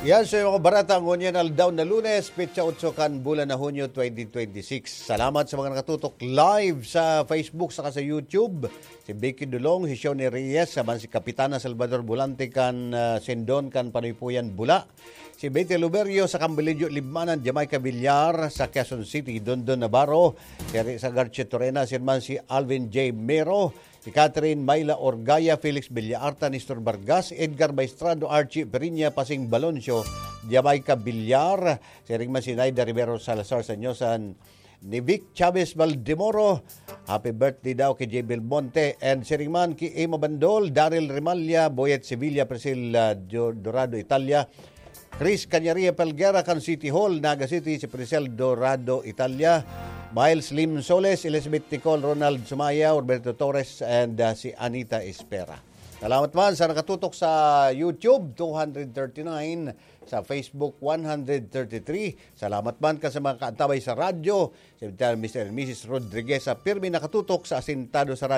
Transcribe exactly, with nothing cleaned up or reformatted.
Yan, so yung mga barata ngunyan aldaw na Lunes, petsa otso kan bulan na Hunyo twenty twenty-six. Salamat sa mga nakatutok live sa Facebook saka sa YouTube. Si Vicky Dulong, si Shoni Reyes, saman si Kapitana Salvador Bulante kan ah, Sendon kan Panuypuyan, Bula. Si Betty Luberio sa Cambilillo, Libmanan, Jamaica Villar sa Quezon City, Dondon Navarro, si Risa Garcia Torena, si man si Alvin J Mero, si Catherine Myla Orgaya, Felix Villaarta, Nestor Vargas, Edgar Maestrado, Archie Periña, Pasing Baloncio, Jamaica Villar, si Ringman si Naida Rivero Salazar Sanyosan, ni Vic Chavez Valdemoro. Happy birthday daw kay J. Belmonte and Siringman ki Emma Bandol, Daryl Remalla, Boyet Sevilla, Priscilla Jo-, Dorado, Italia, Chris Cañaria Pelguera kan City Hall, Naga City, si Priscel Dorado, Italia, Miles Lim Soles, Elizabeth Nicole, Ronald Sumaya, Roberto Torres, and uh, si Anita Espera. Salamat man sa nakatutok sa YouTube, two hundred thirty-nine, sa Facebook, one hundred thirty-three. Salamat man ka sa mga kaantabay sa radyo, si Mister and Missus Rodriguez sa pirmi nakatutok sa Asintado sa